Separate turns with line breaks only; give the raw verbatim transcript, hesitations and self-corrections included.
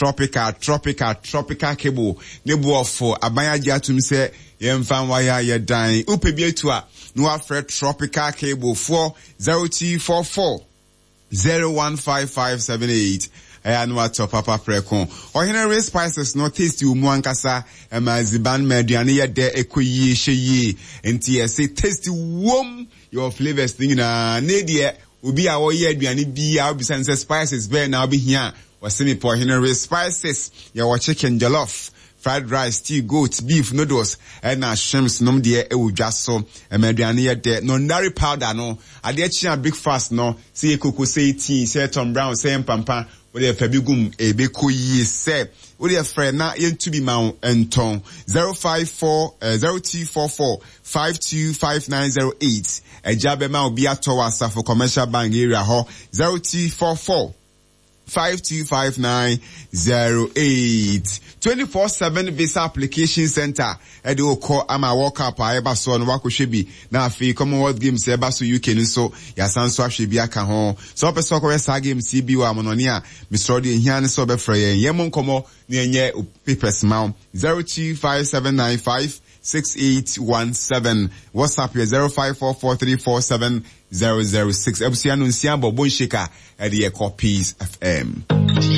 Tropical, tropical, tropical cable ne boɔfo aban agye atum sɛ yɛmfa nwaya yɛ dan. Wopɛ bi atu a, na wafrɛ Tropical Cable four zero two four four zero one five five seven eight. Ɛyɛ ano atɔ papa prɛko. Ɔhene Re Spices no taste wɔ mu ankasa, ɛma aziban ma aduane yɛ dɛ, ɛkɔ yie, hyɛ yie. Nti yɛse taste wom, your flavors ne nyinaa. Ne deɛ obi a wɔyɛ aduane bi a wobisa no sɛ spices bɛɛ na wobɛhia a, wɔse mepɛ Ɔhene Re Spices. Yɛwɔ chicken jollof, fried rice, stew, goat, beef, noodles, ɛna shrimps nom deɛ ɛwɔ dwa so. Ɛma aduane yɛ dɛ. Nondari powder no, adeɛ kye a breakfast no, sɛ yɛ koko, sɛ yɛ tea, sɛ yɛ Tom Brown, sɛ yɛ mpampa, wode fa bi gum, ɛbɛkɔ yie sɛ. Wode frɛ na yɛntu bi ma wo ntɔn. zero five four, eh, zero two four four, five two five nine zero eight. Ɛgya bɛma obi atɔ wɔ Asafo Commercial Bank area hɔ. zero two four four, five two five nine zero eight. twenty-four seven Visa Application Center. Ɛde okɔ ama World Cup a ɛba so no wakɔhwɛ bi. Na afei Commonwealth Games ɛba so U K no nso yɛasan so ahwɛ bi aka ho. Sɛ wopɛ sɛ wokɔhwɛ saa games yi bi wɔ amanɔne a, mesrɛ deɛ ehia ne sɛ wobɛfrɛ yɛn. Yɛn mo nkɔmmɔ na yɛnyɛ papers ma wo. zero two five seven nine five six eight one seven. WhatsApp yɛ zero five four four three four seven zero zero six. Abusua no nsia bɔ Bonsheka ɛde yɛ kɔ Peace F M.